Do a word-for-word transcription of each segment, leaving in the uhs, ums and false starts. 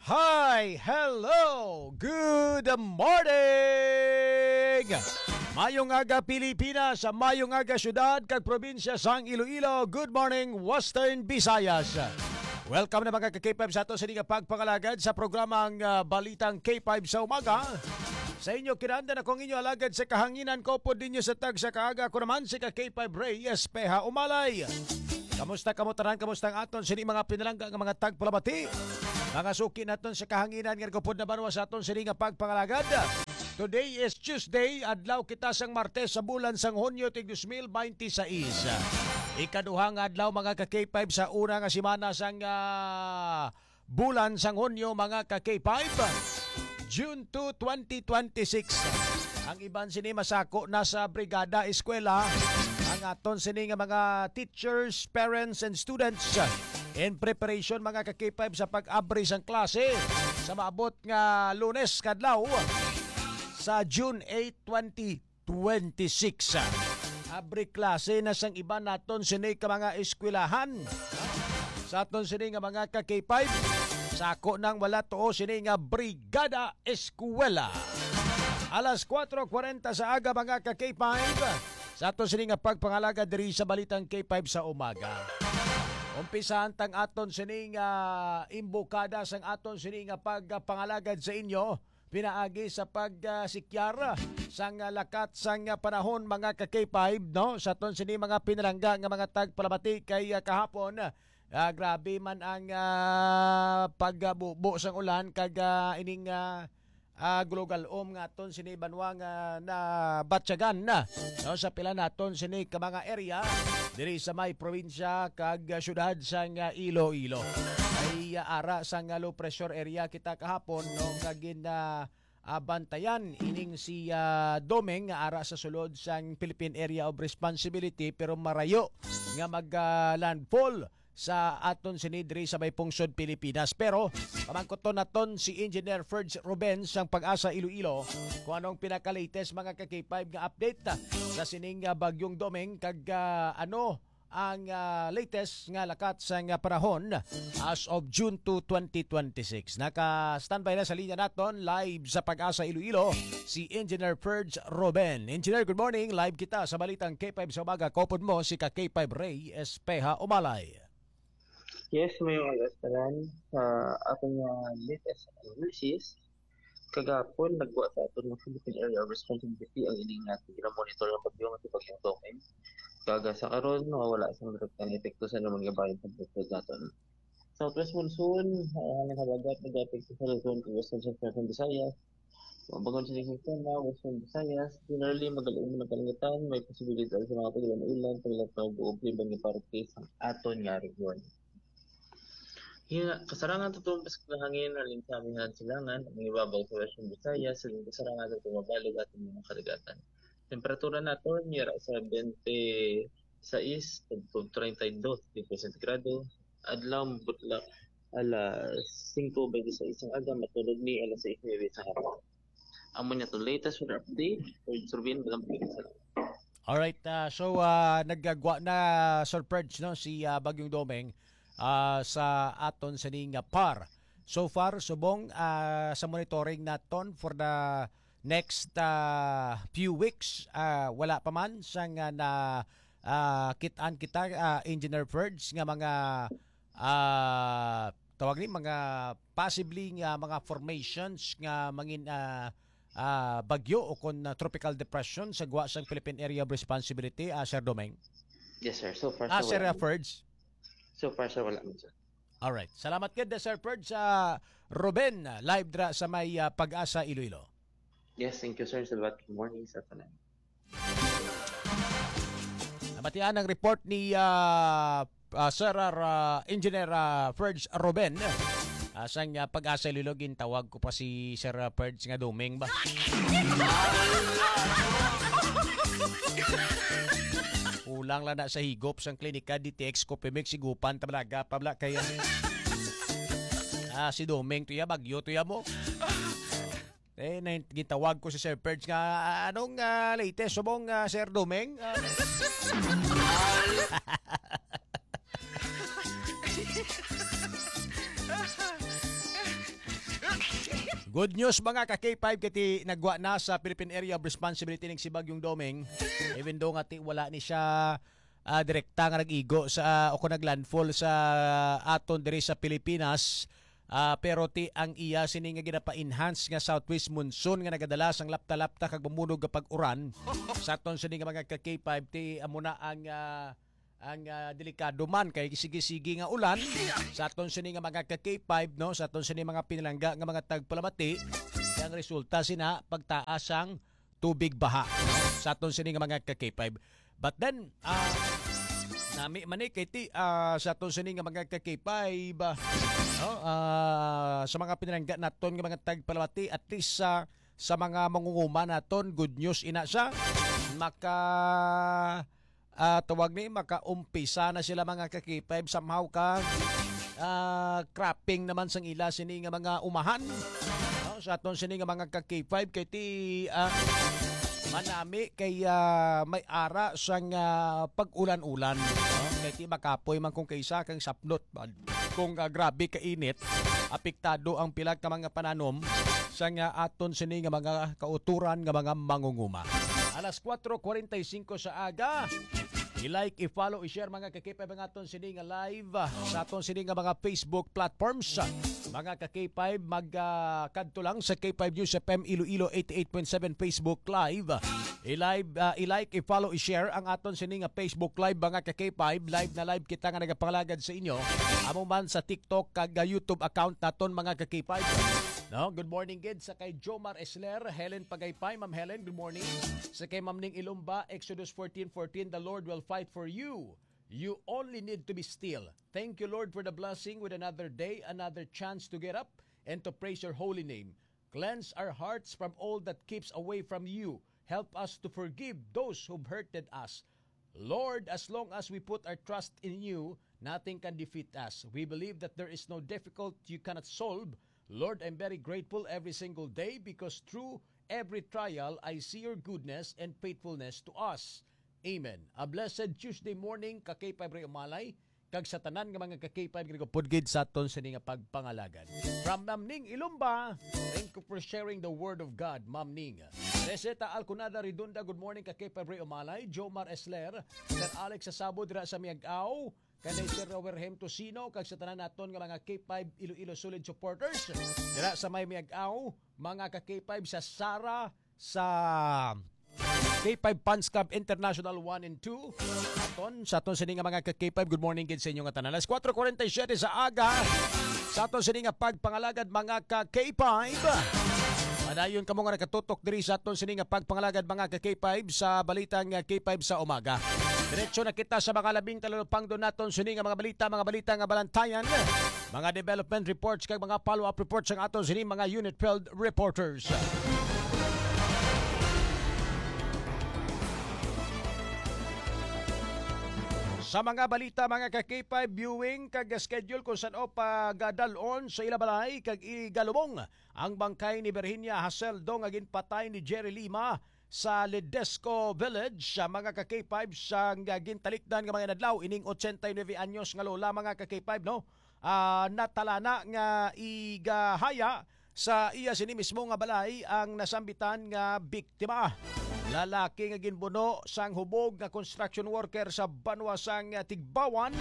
Hi! Hello! Good morning! Mayong aga, Pilipinas! Mayong aga, syudad kag probinsya sang Iloilo! Good morning, Western Visayas! Welcome na, mga ka-K five, sa ato sini nga pagpangalagad sa programang, ah, Balitang K five sa Umaga. Sa inyo kinahanglan, ako ang inyo alagad sa kahanginan, kaupod ninyo sa tagsa ka aga. Ako naman si ka-K five Rey Espeha Umalay. Kamusta kamo tanan? Kamusta ang aton sini mga pinalangga nga mga tagpalamati? Mga suki naton sa kahanginan nga nagupod na banwa sa aton sini nga pagpangalagad. Today is Tuesday, adlaw kita sang Martes sa bulan sang Hunyo tig dos mil binte sais. Ikaduha nga adlaw, mga ka-K five, sa una nga semana sang, ah, bulan sang Hunyo, mga ka-K five. June two, twenty twenty-six. Ang iban sini masako na sa Brigada Eskwela. Ang aton sini nga mga teachers, parents, and students in preparation, mga ka-K five, sa pag-abri sang klase sa maabot nga Lunes kadlaw sa June eight, twenty twenty-six. Abri klase na sang iban naton sini ka mga eskwelahan. Sa aton sini nga mga ka-K five, sako nang wala tuo sini nga Brigada Eskwela. Alas kuwatro kwarenta sa aga, mga ka-K five, sa aton sini nga pagpangalagad diri sa Balitang K five sa Umaga. Umpisahan tang aton sini nga imbokada sang aton sini nga pagpangalagad sa inyo pinaagi sa pag, ah, sikyar sang, ah, lakat sang, ah, panahon, mga ka-K five, no? Sa aton sini mga pinalangga nga mga tagpalamati kay, ah, kahapon, ah, grabe man ang, ah, pagbubo sang ulan kag, ah, ining, ah, ah, gulog-alom nga aton sini banwa nga nabatyagan na, no, sa pila naton sini ka mga area diri sa may probinsya kag, ah, syudad sang, ah, Iloilo. Ay, ah, ara sang, ah, low pressure area kita kahapon, no, nga gin, ah, ah, bantayan ining si, ah, Domeng nga ara sa sulod sang Philippine Area of Responsibility, pero marayo nga mag, ah, landfall sa aton sini diri sa may pungsod Pilipinas. Pero pamangkuton naton si Engineer Ferge Ruben sang Pag-asa Iloilo kung anong pinaka-latest, mga ka-K five, nga update, ah, sa sining, ah, Bagyong Domeng kag, ah, ano ang, ah, latest nga lakat sang, ah, panahon as of June two, twenty twenty-six. Naka-standby na sa linya naton live sa Pag-asa Iloilo si Engineer Ferge Ruben. Engineer, good morning. Live kita sa Balitang K five sa Umaga. Kaupod mo si ka-K five Rey Espeha Umalay. Yes, mayong aga sa tanan. Sa aton nga latest analysis, kagahapon, nagwa sa aton nga Philippine Area of Responsibility ang ining natin ginamonitor nga bagyo nga si Bagyong Domeng. Kag sa karon, wala sang direktang epekto sa naman nga bahin sa bukod naton. Southwest monsoon, ang hangin habagat, nag-epekto sa Luzon, Western Central Visayas, Mabangon sini sa sistema, Western Visayas, generally, magaling ang kalangitan, may posibilidad sa mga tag-ulan-ulan, sa ilang tawag o ubliban nga parte sa aton nga region. Hina, kasarangan tutumpas nga hangin, halin sa amihan silangan, ang ibabaw sa Western Visayas, sa kasarangan tutumabalo aton mga kadagatan. Temperatura naton, yara sa twenty-six to thirty-two degree centigrado, adlaw, mabutla, alas singko bente sais ang aga, matulog ni alas sais nuebe sa hapon. Amo niya to latest weather update. Sir Rubin, maraming salamat. Alright, ah, so, ah, nagagwa na, Sir Purge, no, si, ah, Bagyong Domeng, ah, sa aton sining, ah, par. So far, subong, ah, sa monitoring naton for the next, ah, few weeks, ah, wala pa man sang, ah, na, ah, kit-an kita, ah, Engineer Ferge, nga mga, ah, tawag ni, mga possibly nga mga formations nga mangin, ah, ah, bagyo o kon, ah, tropical depression sa gwa sang Philippine Area of Responsibility, ah, Sir Domeng? Yes, sir. So far, Ah, so Sir, wala ah, man. Ferge? So far, sir, wala man, sir. Alright. Salamat gid, Sir Ferge, sa Ruben, ah, live dra sa may, ah, Pag-asa, Iloilo. Yes, thank you, sir. Salamat. Good morning sa tanan. Nabatian ang report ni, ah, ah, Sir, ah, Engineer, ah, Ferge Ruben. Ah, sang, ah, Pag-asa Iloilo, gintawag ko pa si Sir, ah, Ferge nga Domeng ba? Kulang lang na sa higop sang klinika, D T X, Copimex, higupan, tablaga, pabla, kaya, ah, si Domeng, tuya, bagyo, tuya mo. Eh, na, gitawag ko si Sir Ferge nga, ah, "Anong, ah, latest subong, ah, Sir Domeng?" Ah. Good news, mga ka K five, kay ti nagwa na sa Philippine Area of Responsibility ning si Bagyong Doming. Even though nga ti wala ni siya ah, direkta nga nag-igo sa, o kung nag-landfall sa aton diri sa Pilipinas, ah, pero ti ang iya sini nga ginapa-enhance nga southwest monsoon nga nagadala sang lapta-lapta kag mamunog nga pag-uran sa aton sini nga mga ka K five, ti amo na ang, ah, ang, ah, delikado man kay sige-sige nga ulan sa aton sini nga mga ka K five, no, sa aton sini mga pinalangga nga mga tagpalamati. Ang resulta sina pagtaas sang tubig baha, no, sa aton sini nga mga ka K five. But then, ah, nami man ni kay ti, ah, sa aton sini nga mga ka K five, ah, no, ah, sa mga pinalangga naton nga mga tagpalamati, at least sa sa mga mangunguma naton, good news ina sa maka ah, tawag ni, makaumpisa na sila, mga ka K five, somehow ka, ah, cropping naman sang ila sini nga mga umahan. No? Sa aton sini nga mga ka K five, kay ti, ah, manami kay, ah, may ara sang, ah, pag-ulan-ulan. No? Kay ti makapoy man kung kaysa kang sapnot man. Kung, ah, grabe ka init, apektado ang pila ka mga pananom sa nga aton sini nga mga kauturan nga mga mangunguma. Alas kuwatro kuwarenta y singko sa aga, i-like, i-follow, i-share, mga ka-K five, ang aton sini nga live, ah, sa aton sini nga mga Facebook platforms. Mga ka-K five, mag, ah, kadto lang sa K five News F M Iloilo eighty-eight point seven Facebook Live. I-live, ah, i-like, i-follow, i-share ang aton sini nga Facebook Live, mga ka-K five. Live na live kita nga nagapangalagad sa inyo. Amo man sa TikTok kag, ah, YouTube account naton, mga ka-K five. No, good morning gid sa kay Jomar Esler, Helen Pagaypay, Ma'am Helen, good morning. Sa kay Ma'am Ning Ilumba, Exodus fourteen fourteen, "The Lord will fight for you. You only need to be still. Thank you, Lord, for the blessing with another day, another chance to get up and to praise your holy name. Cleanse our hearts from all that keeps away from you. Help us to forgive those who've hurted us. Lord, as long as we put our trust in you, nothing can defeat us. We believe that there is no difficult you cannot solve. Lord, I'm very grateful every single day because through every trial, I see your goodness and faithfulness to us. Amen." A blessed Tuesday morning, ka K five Ray Umalay, kag sa tanan nga mga ka K five nga nagapudgid sa aton sini nga pagpangalagad. From Namning Ilumba, thank you for sharing the word of God, Ma'am Ning. Receta Alconada Redonda, good morning, ka K five Ray Umalay, Jomar Esler, Sir Alex Sasabo dira sa Miag-ao, kanay Sir Rowerhem Tocino, kag sa tanan naton nga mga K five Iloilo Solid supporters dira sa may Miag-ao, mga ka K five sa Sara, sa K five Fans Club International one and two. Aton, sa aton sini nga mga ka K five, good morning gid sa inyo nga tanan. Alas kuwatro kuwarenta y siyete sa aga, sa aton sini nga pagpangalagad, mga ka K five. Padayon kamo nga nakatutok diri sa aton sini nga pagpangalagad, mga ka K five, sa balita nga K five sa umaga. Diretso na kita sa mga labing talupangdo naton sini nga mga balita, mga balita nga balantayan, mga development reports kag mga follow-up reports sang aton sini mga unit field reporters. Sa mga balita, mga ka K five, viewing kag schedule kung san-o pagadal-on sa ila balay kag igalubong ang bangkay ni Virginia Haseldo nga ginpatay ni Jerry Lima sa Ledesco Village, sa mga ka K five, sa nga gintalikdan nga mga inadlaw ining ochenta y nuebe anyos nga lola, mga ka K five, no? Ah, natalana nga igahaya sa iya sini mismo nga balay ang nasambitan nga biktima. Lalaki nga ginbuno sang hubog nga construction worker sa banwa sang Tigbawan.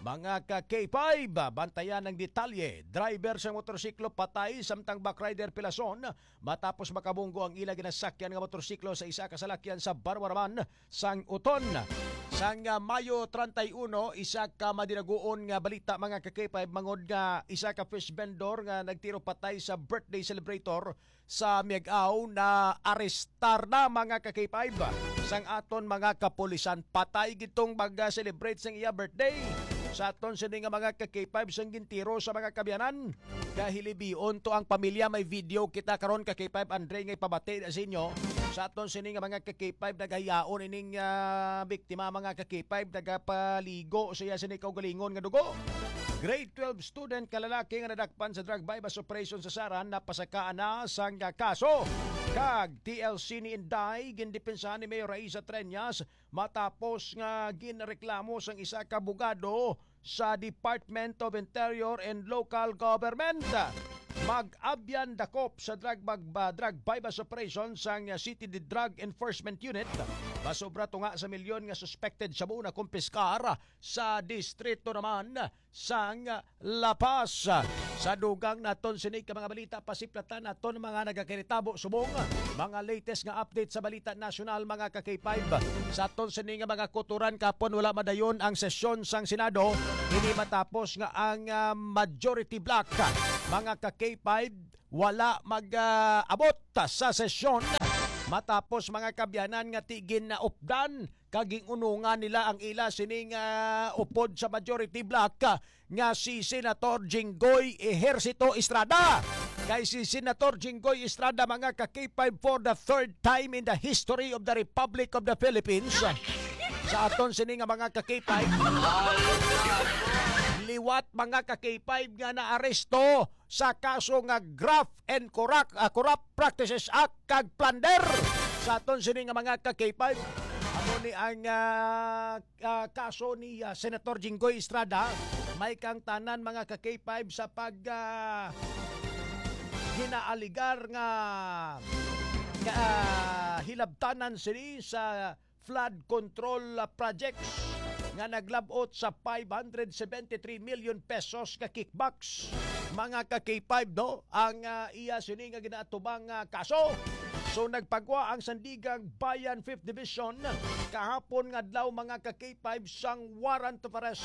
Mga ka K five, bantayan ang detalye. Driver sang motorsiklo patay, samtang backrider pilason matapos makabunggo ang ila ginasakyan nga motorsiklo sa isa ka salakyan sa Barwaraman sang Uton. Sang, ah, Mayo treinta y uno, isa ka madinaguon nga balita, mga ka K five, mangod nga isa ka fish vendor nga nagtiro patay sa birthday celebrator sa Miag-ao na arestar na, mga ka K five. Sang aton mga kapulisan, patay gid tong mag-celebrate sang iya birthday. Sa aton sini nga mga ka K five, sang gintiro sa mga kaabyanan. Kahilibion to ang pamilya. May video kita karon, ka K five Andre, nga ipabati na sa inyo. Sa aton sini nga mga ka K five, nagahiyaon ining, ah, biktima, mga ka K five, nagapaligo siya sini kaugalingon nga dugo. Grade twelve student nga lalaki nga nadakpan sa drug buy-bust operation sa Saran napasakaan na sang kaso. Kag T L C ni Inday, gindepensahan ni Mayor Raisa Treñas matapos nga ginreklamo sang isa ka abogado sa Department of Interior and Local Government. Mag-abyan dakop sa drug bag-, ba-, drug buy-bust operation sang City Drug Enforcement Unit. Masobra tunga sa milyon nga suspected shabu na kumpiskar sa distrito naman sang La Paz. Sa dugang naton sini ka mga balita, pasiplatan naton mga nagakaritabo subong mga latest nga update sa balita nasyonal, mga ka-K five. Sa aton sini nga mga kutoran, kapon wala madayon ang sesyon sang Senado, ini matapos nga ang, ah, majority bloc, mga ka-K five, wala mag, ah, abot sa sesyon matapos, mga kabyanan, nga ti ginaupdan kag ginunungan nila ang ila sining, ah, upod sa majority bloc, ah, nga si Senator Jinggoy Ejercito Estrada. Kay si Senator Jinggoy Estrada, mga ka-K five, for the third time in the history of the Republic of the Philippines, sa aton sini nga mga ka-K five, liwat, mga ka-K five, nga naaresto sa kaso nga Graft and Corrupt, ah, Corrupt Practices Act kag plunder. Sa aton sini nga mga ka-K five, amo ni ang, ah, ah, kaso ni, ah, Senator Jinggoy Estrada. May kang tanan, mga ka-K five, sa pag, ah, ginaaligar nga, nga, ah, hilabtanan sini sa flood control, ah, projects nga naglabot sa five hundred seventy-three million pesos ka kickbacks, mga ka-K five, no? Ang, ah, iya sini nga ginaatubang, ah, kaso. So, nagpagwa ang Sandiganbayan Fifth Division kahapon nga adlaw, mga ka-K five, sang warrant of arrest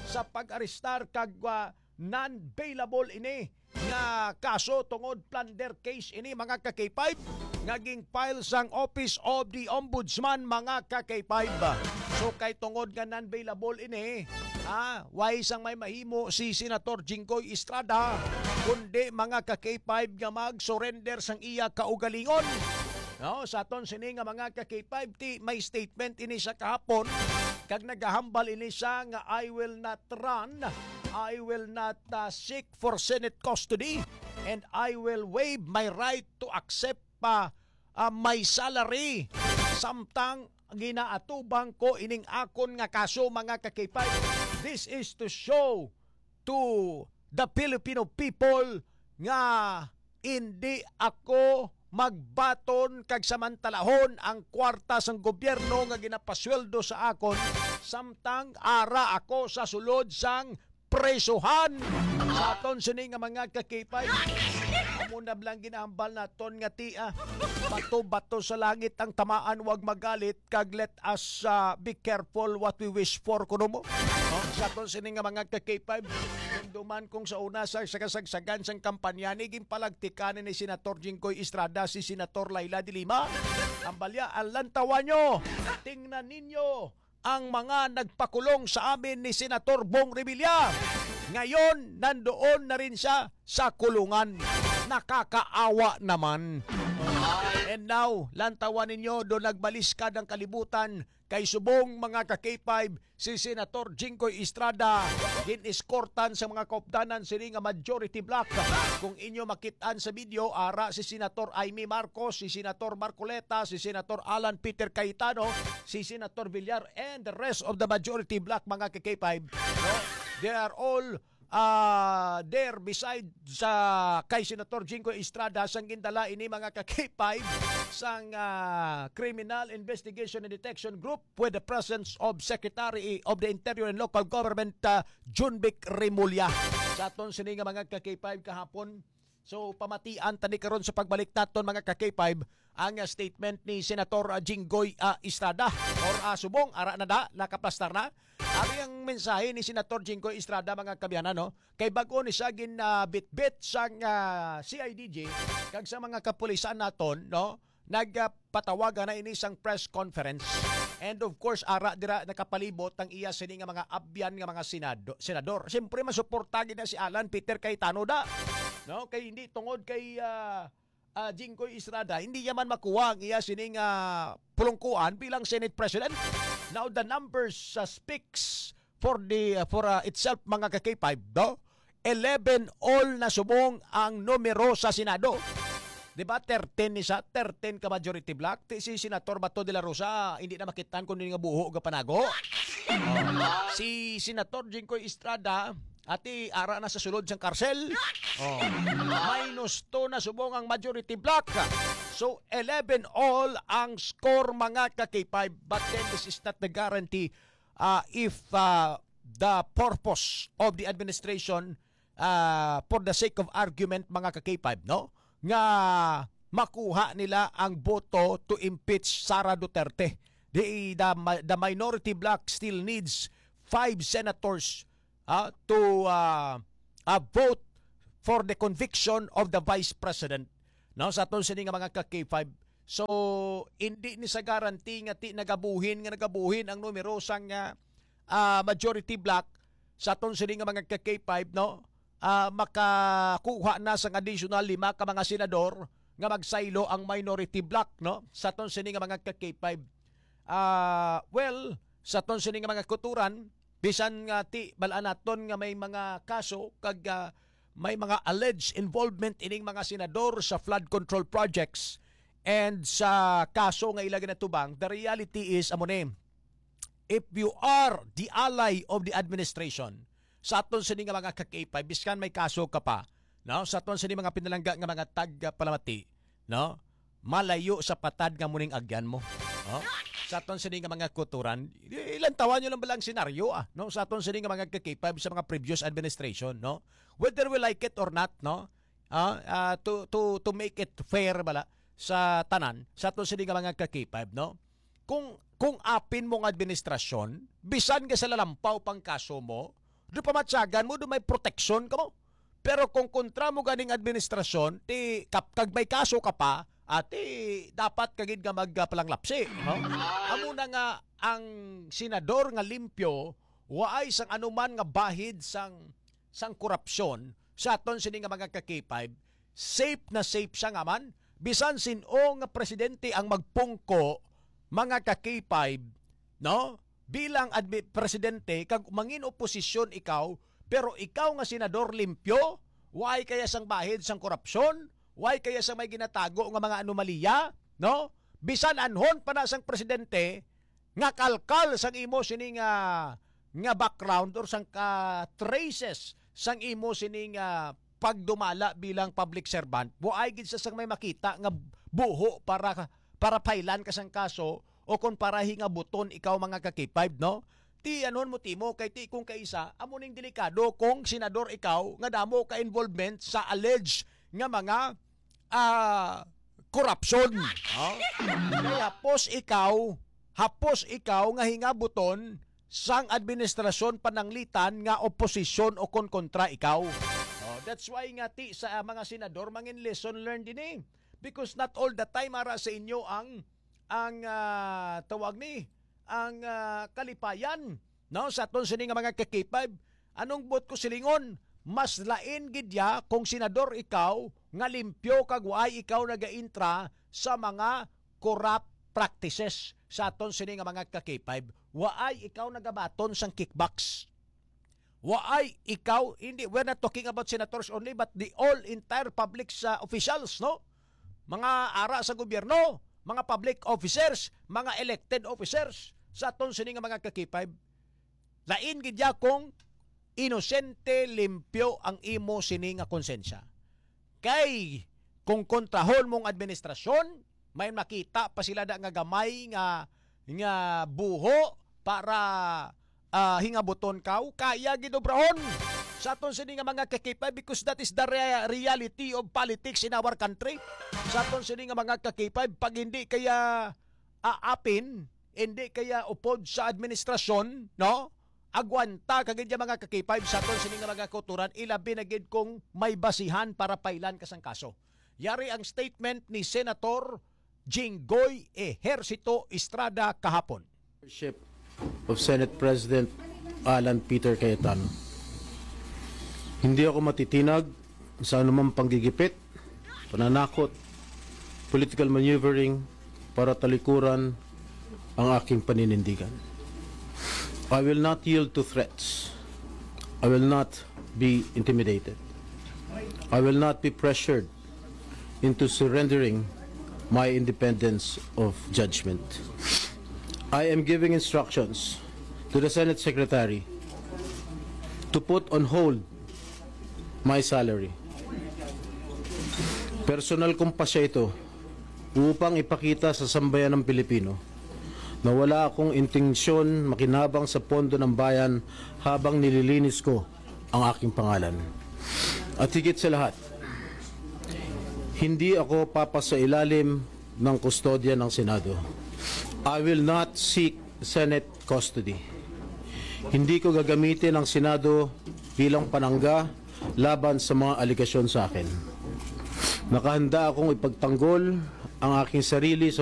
sa pag-arestar kag, ah, non-bailable ini nga kaso tungod plunder case ini, mga ka-K five, nga gin-file sang Office of the Ombudsman, mga ka-K five. So, kay tungod nga non-bailable ini, ah, way sang may mahimo si Senator Jinggoy Estrada, kundi, mga ka-K five, nga mag-surrender sang iya kaugalingon. No, sa aton sini nga mga ka-K five, ti may statement ini sa kahapon, kag nagahambal ini sa nga, "I will not run, I will not, uh, seek for Senate custody, and I will waive my right to accept pa, uh, my salary, samtang ginaatubang ko ining akon nga kaso, mga ka-K five. This is to show to the Filipino people nga hindi ako magbaton kag samantalahon ang kwarta sang gobyerno nga ginapasweldo sa akon, samtang ara ako sa sulod sang prisuhan." Sa aton sini nga mga ka-K five, amo na lang ginahambal naton nga ti, ah, bato-bato sa langit ang tamaan, wag magalit, kag let us, ah, be careful what we wish for, kuno mo. No? Sa aton sini nga mga ka-K five, dumduman kung sa una sa, sa kasagsagan sang kampanya ni, ginpalagtikan ni Senator Jinggoy Estrada si Senator Leila de Lima. Ang balya, ang lantawan nyo, tingnan ninyo ang mga nagpakulong sa amin ni Senator Bong Revilla. Ngayon, nandoon na rin siya sa kulungan. Nakakaawa naman. And now, lantawan ninyo, do nagbaliskad ang kalibutan kay subong, mga ka-K five, si Senator Jinggoy Estrada gin-eskortan sa mga kaupdanan sini nga majority bloc. Kung inyo makit-an sa video, ara si Senator Imee Marcos, si Senator Marcoleta, si Senator Alan Peter Cayetano, si Senator Villar, and the rest of the majority bloc, mga ka-K five. No? They are all, ah, there beside sa kay Senator Jinggoy Estrada sang gindala ini, mga ka-K five, sang, ah, Criminal Investigation and Detection Group with the presence of Secretary of the Interior and Local Government, ah, Jonvic Remulla. Sa aton sini nga mga ka-K five kahapon, so, pamatian tani karon sa pagbalik naton, mga ka-K five, ang, ah, statement ni Senator, ah, Jinggoy, ah, Estrada. Or, ah, subong, ara na da, nakaplastar na. Ari ang mensahe ni Senator Jinggoy Estrada, mga kabyanan, no? Kay bag-o ni siya gin, ah, bitbit sang, ah, C I D G, kag sa mga kapulisan naton, no? Nagpatawagan na ini sang press conference. And of course, ara dira nakapalibot ang iya sini nga mga abyan nga mga senado-, senador. Siyempre, masuporta gid na si Alan Peter Cayetano da. No? Kay hindi tungod kay, ah, ah, Jinggoy Estrada, hindi niya man makuha ang iya sini nga pulungkuan bilang Senate President. Now, the numbers, ah, speaks for the, ah, for, ah, itself, mga ka-K five, no? Eleven all na subong ang numero sa Senado. Di ba, thirteen ni sa, thirteen ka majority bloc, ti si Senator Bato de la Rosa, hindi na makitan kung nga buho ga panago. Oh. Si Senator Jinggoy Estrada, Ati, ara na sa sulod sang karsel. Oh. Minus two na subong ang majority bloc. So, eleven all ang score, mga ka-K five. But then, this is not the guarantee, uh, if, uh, the purpose of the administration, uh, for the sake of argument, mga ka-K five, no? Nga makuha nila ang boto to impeach Sara Duterte. The, the, the minority bloc still needs five senators, ah, to, ah, ah, vote for the conviction of the vice president. No, sa aton sini nga mga ka-K five. So, hindi ni sa guarantee nga ti nagabuhin, nga nagabuhin ang numero sang, ah, ah, majority bloc sa aton sini nga mga ka-K five, no? Ah, makakuha na sang additional lima ka mga senador nga magsaylo ang minority bloc, no? Sa aton sini nga mga ka-K five. Ah, well, sa aton sini nga mga kulturan, bisan nga ti bal-an naton nga may mga kaso kag, ah, may mga alleged involvement ining mga senador sa flood control projects and sa kaso nga ila ginatubang, the reality is amo ni, if you are the ally of the administration, sa aton sini nga mga ka-K five, biskan may kaso ka pa, no? Sa aton sini mga pinalangga nga mga tagpalamati, no? Malayo sa patad nga muning agyan mo, no? Sa aton sini nga mga kulturan, i-, ilantawan nyo lang bala ang senaryo, ah, no? Sa aton sini nga mga ka-K five sa mga previous administration, no? Whether we like it or not, no? Ah, ah, to, to, to make it fair bala sa tanan, sa aton sini nga mga ka-K five, no? Kung, kung apin mo nga administrasyon, bisan nga sa lalampaw pang kaso mo, do pamatyagan mo, do may proteksyon ka mo. Pero kung kontra mo ganing administrasyon, ti kap-, kag may kaso ka pa, ati dapat ka gid nga magpalanglapsi, no? Amo na nga ang senador nga limpyo, waay sang anuman nga bahid sang, sang korupsyon sa aton sini nga mga ka-K five, safe na safe siya nga man. Bisan sin-o nga presidente ang magpungko, mga ka-K five, no? Bilang admi-, presidente, kag mangin oposisyon ikaw, pero ikaw nga senador limpyo, way kaya sang bahid sang korupsyon, way kaya sang may ginatago nga mga anomalya, no? Bisan anhon pa na sang presidente, nga kalkal sang imo sini nga, nga background or sang ka traces sang imo sini nga pagdumala bilang public servant, waay gid sa sang may makita nga buho para, para pailan ka sang kaso o kon para hingabuton ikaw, mga ka-K five, no? Ti anon mo timo kay ti kung kaisa, amo ning delikado kung senador ikaw nga damo ka involvement sa alleged nga mga, ah, korupsyon. Oh? Kay hapos ikaw, hapos ikaw nga hingabuton sang administrasyon pananglitan nga oposisyon o kon kontra ikaw. Oh, that's why nga ti sa mga senador mangin lesson learned din eh. Because not all the time ara sa inyo ang, ang, ah, tawag ni, ang, ah, kalipayan, no, sa aton sini nga mga ka-K five. Anong buot ko silingon? Mas lain gid ya kung senador ikaw nga limpyo kag waay ikaw nagaintra sa mga corrupt practices sa aton sini nga mga ka-K five. Waay ikaw nagabaton sang kickbacks. Waay ikaw, hindi, we're not talking about senators only, but the all entire public sa officials, no? Mga ara sa gobyerno, mga public officers, mga elected officers, sa aton sini nga mga ka-K five. Lain gid ya kung inosente, limpyo ang imo sini nga konsensya. Kay kung kontrahon mong administrasyon, may makita pa sila da nga gamay nga, nga buho para, ah, hingabuton ka, kaya gid obrahon. Sa aton sini nga mga ka-K five, because that is the rea-, reality of politics in our country. Sa aton sini nga mga ka-K five, pag hindi kaya aapin, hindi kaya upod sa administrasyon, no? Agwanta ka gid ya mga ka-K five sa aton sini nga mga kulturan, ilabi na gid kung may basihan para pailan ka sang kaso. Yari ang statement ni Senator Jinggoy Ejercito Estrada kahapon. Leadership of Senate President Alan Peter Cayetano. Hindi ako matitinag sa anumang panggigipit, pananakot, political maneuvering para talikuran ang aking paninindigan. I will not yield to threats. I will not be intimidated. I will not be pressured into surrendering my independence of judgment. I am giving instructions to the Senate Secretary to put on hold my salary. Personal kong pasya ito upang ipakita sa sambayan ng Pilipino na wala akong intensyon makinabang sa pondo ng bayan habang nililinis ko ang aking pangalan. At higit sa lahat, hindi ako papasailalim ng kustodya ng Senado. I will not seek Senate custody. Hindi ko gagamitin ang Senado bilang panangga laban sa mga alegasyon sa akin. Nakahanda akong ipagtanggol ang aking sarili sa